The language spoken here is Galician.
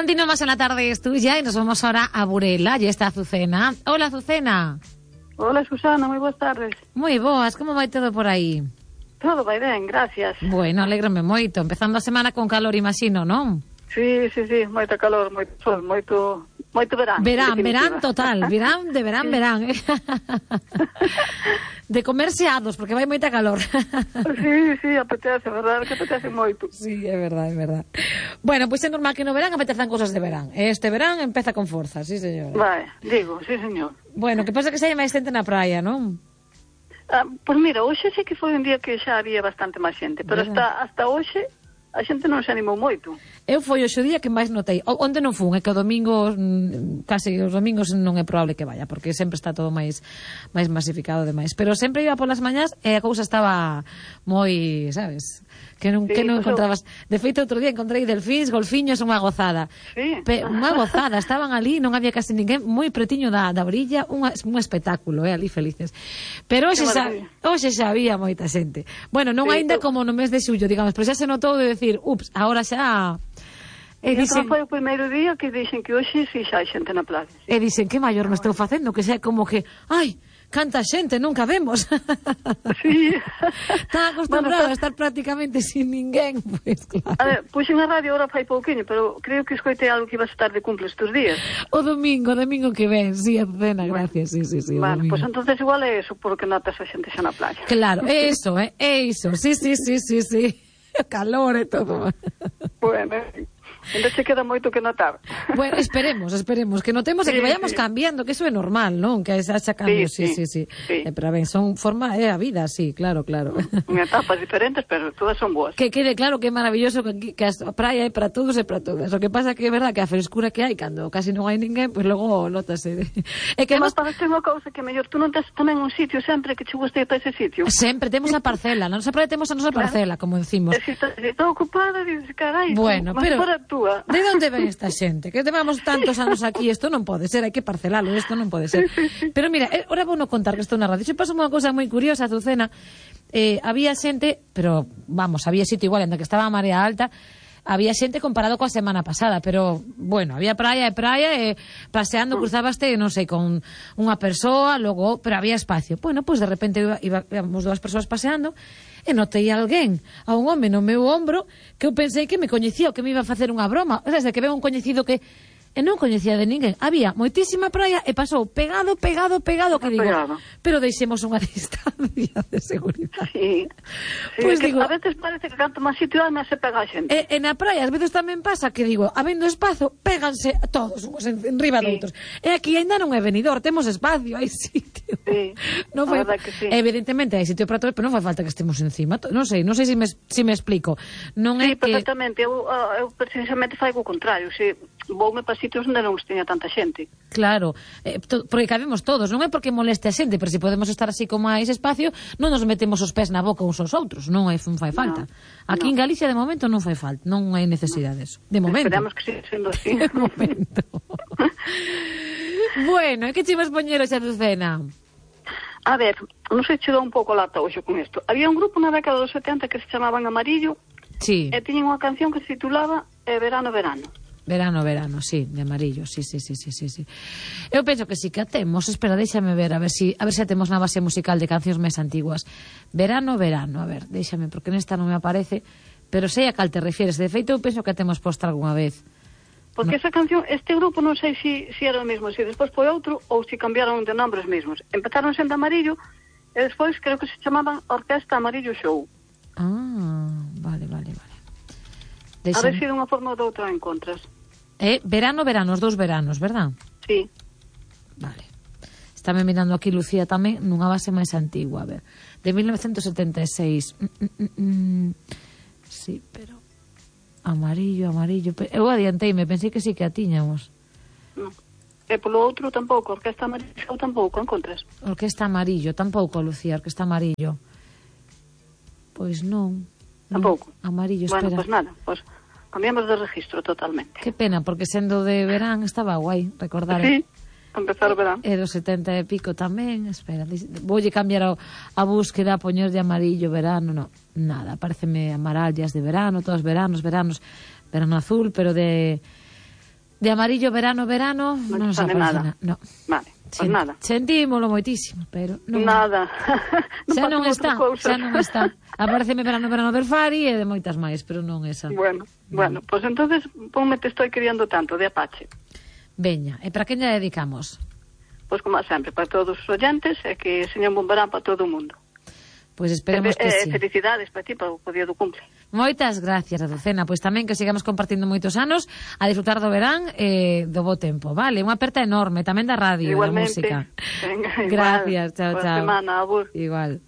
Continuamos en La Tarde es Tuya y nos vamos ahora a Burela. Ya está Azucena. Hola, Azucena. Hola, Susana, moi boas tardes. Moi boas, como vai todo por aí? Todo vai ben, gracias. Bueno, alégrame moito. Empezando a semana con calor, imagino, non? Sí, moita calor, moito sol, moito verán. Verán total, verán. De comerse ados, porque vai moita calor. Sí, apetece, verdad, que apetece moito. Sí, é verdade. Bueno, pois é normal que no verán apetezan cosas de verán. Este verán empeza con forza, sí, señora. Vai, digo, sí, señor. Bueno, que pasa que xa hai máis xente na praia, non? Pois mira, hoxe sí que foi un día que xa había bastante máis xente, pero hasta hoxe a xente non se animou moito. Eu foi hoxe o día que máis notei. Onde non fun, é que o domingo, case os domingos non é probable que vaya, porque sempre está todo máis masificado demais. Pero sempre iba polas mañás e a cousa estaba moi, sabes, que non encontrabas. De feito, outro día encontrei delfíns, golfiños, unha gozada. Sí. Unha gozada, estaban ali, non había casi ninguén, moi pretiño da orilla, un espectáculo, ali felices. Pero hoxe xa había moita xente. Bueno, non aínda como no mes de xullo, digamos, pero xa se notou de decir, ups, agora xa... E dicen, foi o primeiro día que dixen que hoxe si xa hai xente na playa. Sí. E dicen, que maior me estou facendo, que xa como que, ai, canta xente, nunca vemos. Sí. Está acostumbrado a estar prácticamente sin ninguén, pues claro. A ver, puxen a radio ahora fai pouquiño, pero creo que escoitei algo que ibas a estar de cumple estes días. O domingo que ven, sí, Azucena, gracias, sí. Vale, pues entonces igual é eso, porque notas a xente xa na playa. Claro, é iso, sí. O calor e todo. Bueno, ainda se queda moito que notar. Bueno, esperemos que notemos e que vayamos cambiando, que eso é normal, non? Que haxa cambios, sí. Pero ben, son forma a vida, sí, claro. En etapas diferentes, pero todas son boas. Que quede claro que é maravilloso que a praia é para todos e para todas. O que pasa que é verdad que a frescura que hai cando casi non hai ninguén, pois logo notase. É que mas parece unha cousa que mellor tú non tes tamén un sitio sempre que che guste para ese sitio. Sempre temos a parcela, na nosa praia temos a nosa parcela, como decimos. E se está ocupada, dices, carai, bueno, pero túa. De onde ven esta xente? Que levamos tantos anos aquí, isto non pode ser, hai que parcelalo, isto non pode ser. Pero mira, ahora vou non contar que estou na radio. Xe pasou unha cousa moi curiosa, Azucena. Había xente, pero vamos, había sitio igual, en que estaba a marea alta, había xente comparado coa semana pasada, pero, bueno, había praia, paseando, cruzabaste, non sei, con unha persoa, logo, pero había espacio. Bueno, pois de repente íbamos dúas persoas paseando, e notei a alguén, a un home no meu ombro, que eu pensei que me coñecía, ou que me iba a facer unha broma. Desde que veo un coñecido que non coñecía de ninguén. Había moitísima praia e pasou pegado, que digo, pero deixemos unha distancia de seguridade. Sí. Pues digo, a veces parece que canto máis sitio máis se pega a xente. E na praia, ás veces tamén pasa que digo, habendo espazo, péganse todos uns enriba doutros. E aquí ainda non é venidor, temos espacio, hai sitio. Sí, non foi, evidentemente hai sitio para todos, pero non fai falta que estemos encima. Non sei se me explico. Non sí, perfectamente. Eu precisamente faigo o contrario. Se voume para sitios onde non teña tanta xente. Claro, porque cabemos todos, non é porque moleste a xente, pero se podemos estar así con máis espacio, non nos metemos os pés na boca uns aos outros, non fai falta. Aquí en Galicia de momento non fai falta, non hai necesidade disso. De momento. Esperamos que siga sendo así. De momento. Bueno, e que che vas poñer hoxe, Azucena? A ver, non sei se dou un pouco lata hoxe con isto. Había un grupo na década dos 70 que se chamaban Amarillo, sí, e tiñen unha canción que se titulaba Verano. Verano, sí, de Amarillo, sí. Eu penso que sí que a temos, espera, déixame ver, a ver se temos na base musical de cancións máis antiguas. Verano, a ver, déixame, porque nesta non me aparece, pero sei a cal te refieres. De feito, eu penso que a temos posta algunha vez. Porque esa canción, este grupo non sei se era o mesmo, se despois foi outro ou se cambiaron de nombres mesmos. Empezaron sendo Amarillo e despois creo que se chamaban Orquesta Amarillo Show. Vale. A ver se de unha forma ou de outra encontras. Verano, os dous veranos, verdad? Sí. Vale. Estáme mirando aquí Lucía tamén nunha base máis antigua, a ver. De 1976. Sí, pero... Amarillo. Eu adianteime, pensei que sí que a tiñamos. E polo outro tampouco, Orquesta Amarillo tampouco encontras. Orquesta Amarillo, tampouco, Lucía, Orquesta Amarillo. Pois non. Tampouco. Amarillo, espera. Bueno, pois nada, cambiamos de registro totalmente. Que pena, porque sendo de verán estaba guai, recordar. Sí, empezar o verán. E dos 70 e pico tamén, espera, voulle cambiar a búsqueda, a poñer de amarillo, verano, no, nada, pareceme amarallas de verano, todos verano azul, pero De amarillo verano, non se aparece nada. No. Vale, pues nada. Sentímolo moitísimo, pero non. Nada. Xa non está. Apareceme verano ver Fari e de moitas máis, pero non esa. Bueno, pues entonces ponme Te estoy queriendo tanto, de Apache. Veña, e para quen lle dedicamos? Pois como sempre, para todos os oyentes, e que señor Bombarán para todo o mundo. Pois esperemos que sí. Felicidades para ti, para o día do cumple. Moitas gracias, Azucena. Pois tamén que sigamos compartindo moitos anos a disfrutar do verán e do bo tempo, vale? Unha aperta enorme, tamén da radio e da música. Venga, gracias, chao, Boa chao. semana, abur. Igual.